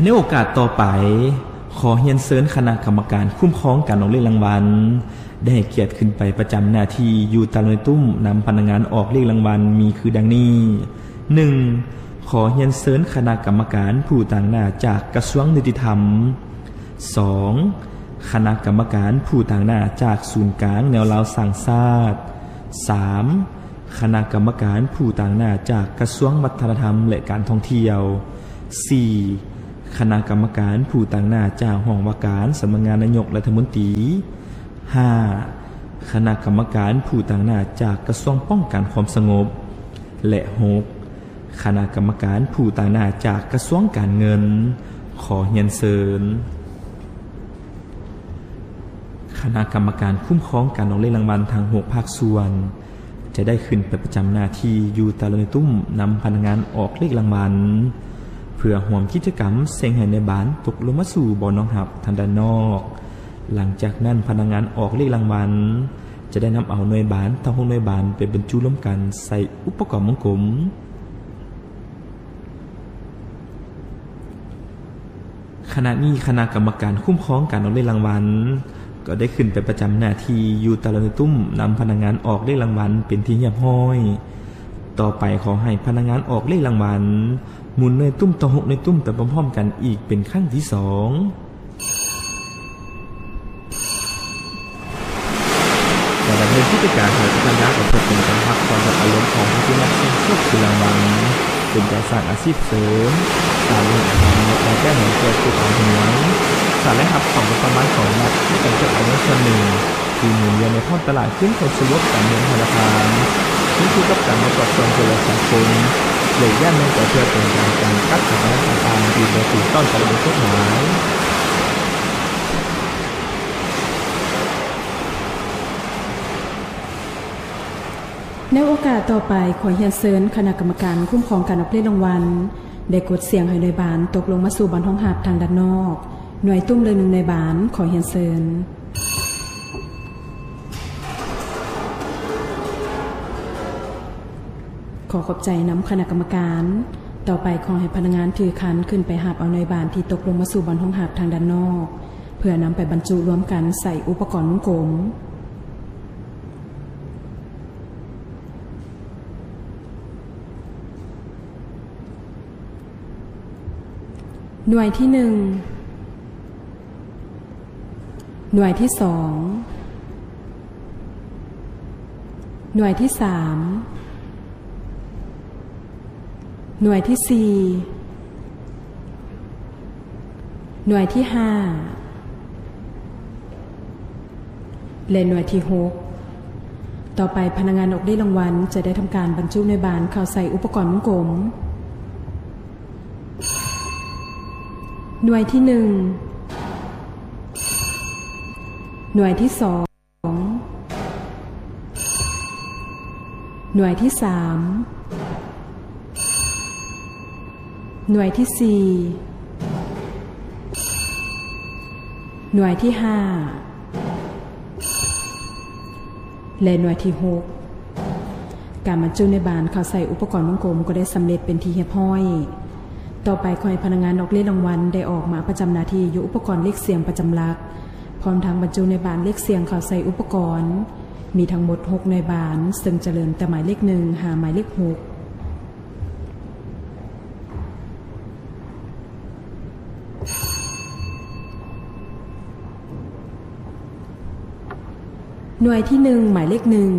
ໃນໂອກາດຕໍ່ໄປ, ຂໍຮຽນເຊີນຄະນະກຳມະການຄຸ້ມຄອງການອອກເລກລາງວັນ ໄດ້ໃຫ້ກຽດຂຶ້ນໄປປະຈຳໜ້າທີ່ຢູ່ຕາຫຼາງໜ່ວຍຕຸ້ມນຳພະນັກງານອອກເລກລາງວັນມີຄືດັ່ງນີ້: ໜຶ່ງ ຂໍຮຽນເຊີນຄະນະກຳມະການຜູ້ຕາງໜ້າຈາກກະຊວງຍຸຕິທຳ. ສອງ ຄະນະກຳມະການຜູ້ຕາງໜ້າຈາກສູນກາງແນວລາວສ້າງຊາດ. ສາມ ຄະນະກຳມະການຜູ້ຕາງໜ້າຈາກກະຊວງວັດທະນະທຳ ແລະ ການທ່ອງທ່ຽວ. ສີ່ ຄະນະກຳມະການຜູ້ຕາງໜ້າຈາກຫ້ອງວ່າການສຳນັກງານນາຍົກລັດຖະມົນຕີ. ຫ້າ ຄະນະກຳມະການຜູ້ຕາງໜ້າຈາກກະຊວງປ້ອງກັນຄວາມສະຫງົບ. ແລະ ຫົກ ຄະນະກຳມະການຜູ້ຕາງໜ້າຈາກກະຊວງການເງິນ. ຂໍຮຽນເຊີນ ຄະນະກຳມະການຄຸ້ມຄອງການອອກເລກລາງວັນທັງຫົກພາກສ່ວນ ຈະໄດ້ຂຶ້ນໄປປະຈຳໜ້າທີ່ຢູ່ຕາຫຼາງໜ່ວຍຕຸ້ມນຳພະນັກງານອອກເລກລາງວັນ ເພື່ອຮ່ວມກິດຈະກຳເສັງໃຫ້ໜ່ວຍບານຕົກລົງມາສູ່ບ່ອນຮອງຮັບທາງດ້ານນອກ. ຫຼັງຈາກນັ້ນ, ພະນັກງານອອກເລກລາງວັນຈະໄດ້ນຳເອົາໜ່ວຍບານທັງຫົກໜ່ວຍບານໄປບັນຈຸລວມກັນໃສ່ອຸປະກອນວົງກົມ. ຂະນະນີ້ຄະນະກຳມະການຄຸ້ມຄອງການອອກເລກລາງວັນ ກໍໄດ້ຂຶ້ນໄປປະຈຳໜ້າທີ່ຢູ່ຕາຫຼາງໜ່ວຍຕຸ້ມນຳພະນັກງານອອກເລກລາງວັນເປັນທີ່ຮຽບຮ້ອຍ. ຕໍ່ໄປຂໍໃຫ້ພະນັກງານອອກເລກລາງວັນໝູນໜ່ວຍຕຸ້ມທັງຫົກໜ່ວຍຕຸ້ມໄປພ້ອມໆກັນອີກເປັນຄັ້ງທີສອງ. ລະດັບເງິນກິດຈະການຂອງພະນັກງານອອກເລກລາງວັນ ຄວາມຮັກຄວາມອາລົມຂອງຜູ້ທີ່ນັກສ່ຽງໂຊກຖືລາງວັນ ເປັນການສ້າງອາຊີບເສີມ, ການເຮັດອາຫານ ແລະ ແກ້ໜີ້ເພື່ອຜູ້ຂາຍຫວຍ, ສ້າງລາຍຮັບເຂົ້າງົບປະມານຂອງລັດ ໃນການຈັດອາລົມສ່ວນໜຶ່ງທີ່ໝູນວຽນໃນທ້ອງຕະຫຼາດ ຄືນຄວາມສະຫງົບການເງິນທະນາຄານ, ຂຶ້ນຢູ່ກັບການປະກອບສ່ວນຊ່ວຍເຫຼືອສັງຄົມ ແລະ ຢ້ານໜຶ່ງກໍເພື່ອເປັນການກັກສະຖານະການຕ່າງໆທີ່ບໍ່ຖືກຕ້ອງຕາມກົດໝາຍ. ໃນໂອກາດຕໍ່ໄປ, ຂໍຮຽນເຊີນຄະນະກຳມະການຄຸ້ມຄອງການອອກເລກລາງວັນ ໄດ້ກົດສຽງໃຫ້ໜ່ວຍບານຕົກລົງມາສູ່ບ່ອນຮອງຮັບທາງດ້ານນອກ. ໜ່ວຍຕຸ້ມລະໜຶ່ງໜ່ວຍບານ, ຂໍຮຽນເຊີນ. ຂໍຂອບໃຈນຳຄະນະກຳມະການ. ຕໍ່ໄປຂໍໃຫ້ພະນັກງານຖືຄັນຂຶ້ນໄປຮັບເອົາໜ່ວຍບານທີ່ຕົກລົງມາສູ່ບ່ອນຮອງຮັບທາງດ້ານນອກ ເພື່ອນຳໄປບັນຈຸລວມກັນໃສ່ອຸປະກອນວົງກົມ. ໜ່ວຍທີໜຶ່ງ. ໜ່ວຍທີສອງ. ໜ່ວຍທີສາມ. ໜ່ວຍທີສີ່. ໜ່ວຍທີຫ້າ ແລະ ໜ່ວຍທີຫົກ. ຕໍ່ໄປ, ພະນັກງານອອກເລກລາງວັນຈະໄດ້ທຳການບັນຈຸໜ່ວຍບານເຂົ້າໃສ່ອຸປະກອນວົງກົມ. ໜ່ວຍທີໜຶ່ງ. ໜ່ວຍທີສອງ. ໜ່ວຍທີສາມ. ໜ່ວຍທີສີ່. ໜ່ວຍທີຫ້າ ແລະ ໜ່ວຍທີຫົກ. ການບັນຈຸໜ່ວຍບານເຂົ້າໃສ່ອຸປະກອນວົງກົມກໍໄດ້ສຳເລັດເປັນທີ່ຮຽບຮ້ອຍ. ຕໍ່ໄປ, ຂໍໃຫ້ພະນັກງານອອກເລກລາງວັນໄດ້ອອກມາປະຈຳໜ້າທີ່ຢູ່ອຸປະກອນເລກສ່ຽງປະຈຳຫຼັກ, ພ້ອມທັງບັນຈຸໜ່ວຍບານເລກສ່ຽງເຂົ້າໃສ່ອຸປະກອນ. ມີທັງໝົດຫົກໜ່ວຍບານ, ເຊິ່ງຈະເລີ່ມແຕ່ໝາຍເລກໜຶ່ງຫາໝາຍເລກຫົກ. ໜ່ວຍທີໜຶ່ງ, ໝາຍເລກໜຶ່ງ.